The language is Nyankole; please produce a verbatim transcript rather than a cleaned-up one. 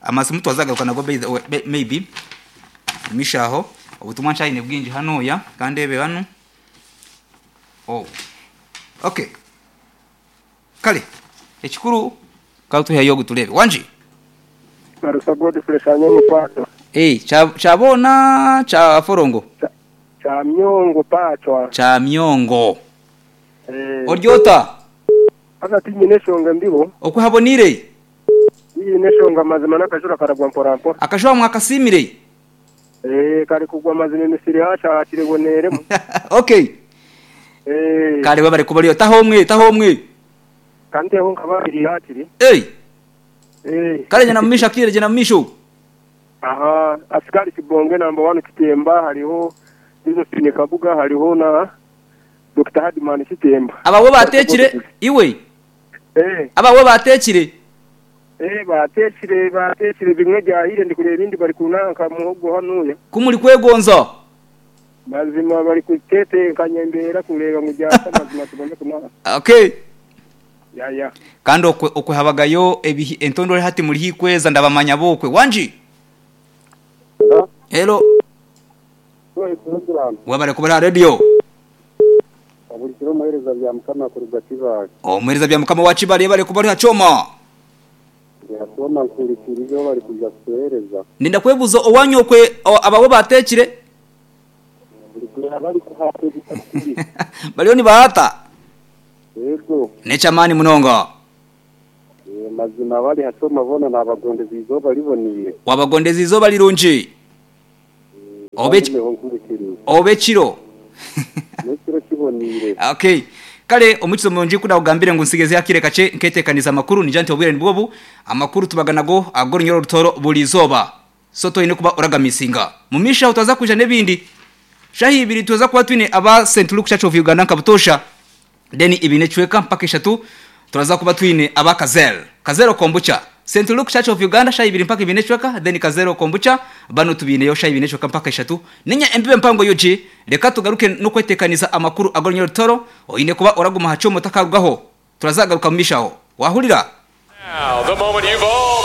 Amasimu twazagaruka nago by the way, maybe mishaho obutumwa nshayine bwingi hanoya kandi ebe hano. Oh, okay, kale ekikuru katuhayo gutulebe wanji. Marusa Godfrey Sanyongo Pato. Eh, cha chabona cha forongo. Cha, cha myongo pachwa. Cha myongo. Eh. Oryota. Aka tinyine shonga ndibo. Okuhabonire. Tinyine shonga mazima nakashura karagwa mpora mpora. Akashura mwakasimire. Eh, kari kugwa mazima emisiri hasha akireboneremo. Okay. Eh. Kare babare kubariyo tahomwe tahomwe. Kante ho nkababiri hakiri. Eh. Eh. Kare jana mmisha kire jana mmisho. Aha, askari Kibonge number one Kitemba hariho Josephine Kabuga hariho na Doctor Hadman Kitemba. Abawe batekire iwe. Eh. Abawe batekire. Eh, batekire batekire bimwe byahire ndi kureba ibindi bari kunanka muhogo hanuya. Kumuri kwegonza. Mazima bari kutetekanya imbera kureba mu byasa mazima tubone kunanka. Okay. Ya ya. Kandi okwe okwe habagayo ebihi entondore hati muri hikweza ndabamanya bokwe wanji. Hello. Wabare kubara radio. Abulikiro muhereza bya mukama kuruga Kibale. Oh, muhereza bya mukama wa Kibale bari kubari hachoma. Ya choma nkulikirizo bari kuja kuhereza. Ninda kwebuzo owanyo kwe abawe batekire. Bulikira bari kuhate bitakuri. Baliyo ni bahata. Yego. Nechamani munonga. E, mazima bari hachoma bona nabagondezi izoba liboniye. Wabagondezi izoba lirungi. Obe Obe chiro. Nekiro kibonire. Okay. Kale omukizo munji kuda kugambire ngo nsigeze yakire kace nketekaniza amakuru ni janti obwire nibwobu amakuru tubaganago agoro nyoro rutoro buli zoba. Soto ine kuba oragamisinga. Mumisha utaza kuja nebindi. Shahi ibiri tuza kuba twine aba Saint Luke Church of Uganda nkabutosha. Deni ibine chweka mpaka eshatu turaza kuba twine aba Kazel. Kazero kombucha. Saint Luke Church of Uganda shahi ibiri mpaka ibine chweka then Kazero kombucha bano tubine yo shahi ibine chweka mpaka eshatu. Ninya embibe mpango yoji reka tugaruke no kwetekaniza amakuru agornyo rutoro oyine kuba oraguma hacho mutakarugaho. Turazagaruka mumishaho. Wahurira. Now the moment you've all been